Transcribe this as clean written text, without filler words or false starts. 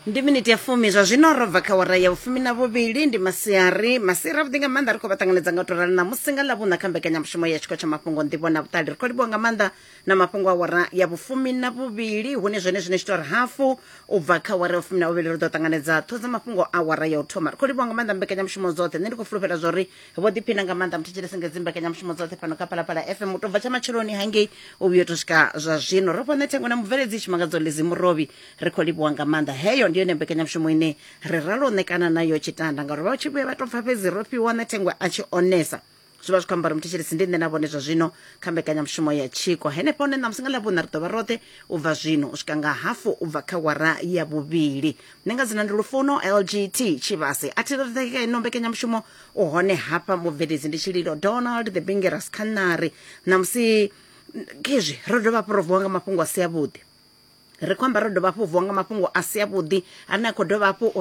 Ndi miniti ya fumi zwa zwino ro bva kha wara ya vhufumi na vhuvhili. Ndi masiari, masiari avhuḓi nga maanḓa. Ri khou vha ṱanganedza nga u tou rali ṋamusi nga Ḽavhuṋa kha mbekanyamushumo ya Tshiko tsha Mafhungo, Nḓivho na Vhuṱali. Ri khou livhuwa nga maanḓa na mafhungo a wara ya vhufumi na vhuvhili, hune zwone zwine tshi tou ri hafu u bva kha wara ya vhufumi na vhuvhili ri ḓo ṱanganedza ṱhoho dza mafhungo a wara ya u thoma. Ri khou livhuwa nga maanḓa mbekanyamushumo dzoṱhe. Nṋe ndi khou fulufhela zwa uri vho ḓiphina nga maanḓa muthetshelesi nga dzi mbekanyamushumo dzoṱhe fhano kha Phalaphala FM u tou bva tsha matsheloni hangei u vhuya u tou swika zwa zwino. Ro fha nṋe thengo na mubveledzi Tshimangadzo Lizzy Murovhi. Ri khou livhuwa nga maanḓa. Heyo ndi yone mbekanyamushumo ine ri ralo u ṋekana nayo tshitanda, ngauri vha tshi vhuya vha tou pfa fhedzi ro fhiwa nṋe thengwe a tshi onesa, zwi vha zwi khou amba uri muthetshelesi ndi nṋe na vhone zwa zwino kha mbekanyamushumo ya Tshiko. Henefho hone ṋamusi nga Ḽavhuṋa ri ḓo vha roṱhe u bva zwino u swika nga hafu u bva kha wara ya vhuvhili. Nṋe nga dzina ndi Lufuno LGT Tshivhase. A thi kha ino mbekanyamushumo u hone hafha mubveledzi ndi Tshililo Donald the Bingeras Khanari. Ṋamusi khezwi ro dovha hafhu ro vuwa nga mafhungo a si avhuḓi. Ri khou amba ro dovha hafhu vuwa nga mafhungo a si avhuḓi ane a khou dovha hafhu u